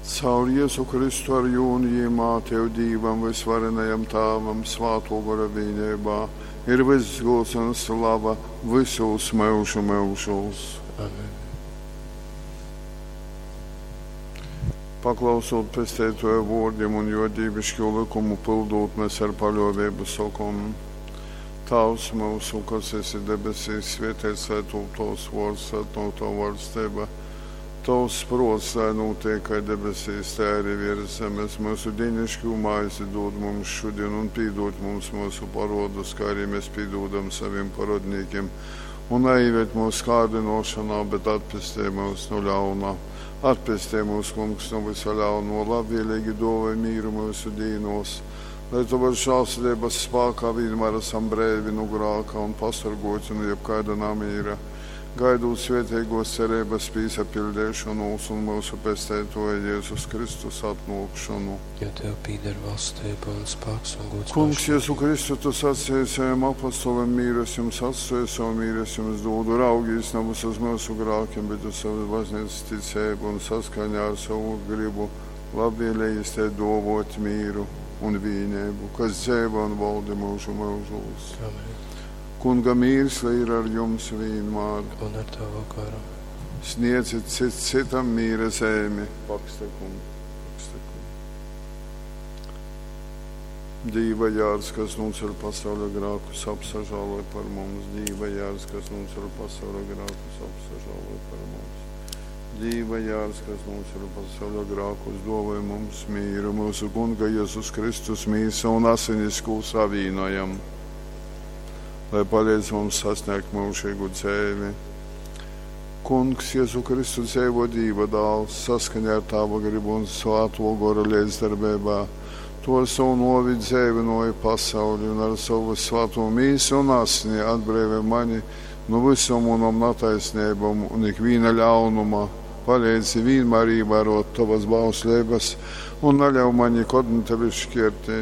Caur Jezu Kristu ar jū un jīmā Tev Dīvam Vysvarenajam Tāvam Svātō Gora vīneibā ir vyss gūds un slava vysūs myužu myužūs. Amen. Paklausūt Pesteitōja vōrdim un jō dīviškū lykumu pyldūt, mes ar paļōveibu sokom: Tāvs myusu, kas esi debesīs, svēteits lai tūp tovs vōrds, lai atnōk tova vaļsteiba. Tovs prōts lai nūteik kai debesīs, tai arī viers zemes. Myusu dīniškū maizi dūd mums šudin un pīdūd mums myusu parōdus, kai arī mēs pīdūdam savim parodnīkim. Un naīved mūsu kārdinošanā, bet atpestej mūs no ļauna. Atpestej mūs, Kungs, no visa ļauno, labvēlīgi dāvāj mīru mūsu dīnos, lai Tavas žēlsirdības spēkā vienmēr esam breivi no grāka un pasargoti no jebkāda namīra, gaidot svētīgos cerības pīsapildīšanos un mūsu Pesteitoja Jēzus Kristus atnākšanu. Jo Tev pīder valstība un spēks un gods Kungs, mūžīgi. Jēzu Kristu, tu sacīji saviem apostoliem, mīru es jums atstāju, savu mīru es jums dodu. Raugīs nevis uz mūsu grākiem, bet uz savas baznīcas ticību un saskaņā ar savu gribu labvēlīgi te dovot mīru un vīnību, kas dzīvo un valda mūžu mūžos. Amen. Kunga mīrs, lai ir ar jums vienmēr. Un ar Tavu garu. Sniedzit cits citam mīra zemi. Pakstekum, pakstekum. Dīva jārs, kas noceļ pasaules grākus, apsažāloj par mums. Dīva jārs, kas noceļ pasaules grākus, apsažāloj par mums. Dīva jārs, kas noceļ pasaules grākus, dāvāj mums mīru, mūsu Kunga Jēzus Kristus mīsa un asinis, ko savīnojam, lai palīdz mums sasniegt mūžīgu dzīvi. Kungs, Jēzu Kristu dzīvo Dīva dāls, saskaņā ar Tava gribu un Svēto Gora līdzdarbībā. Tu ar savu novi dzīvinoji pasauli un ar savu svēto mīsu un asni atbrīvi mani no visam manam netaisnībām un ikviena ļaunuma. Palīdzi vienmēr ievērot tavas bauslības un neļauj man nekad no tevis šķirties.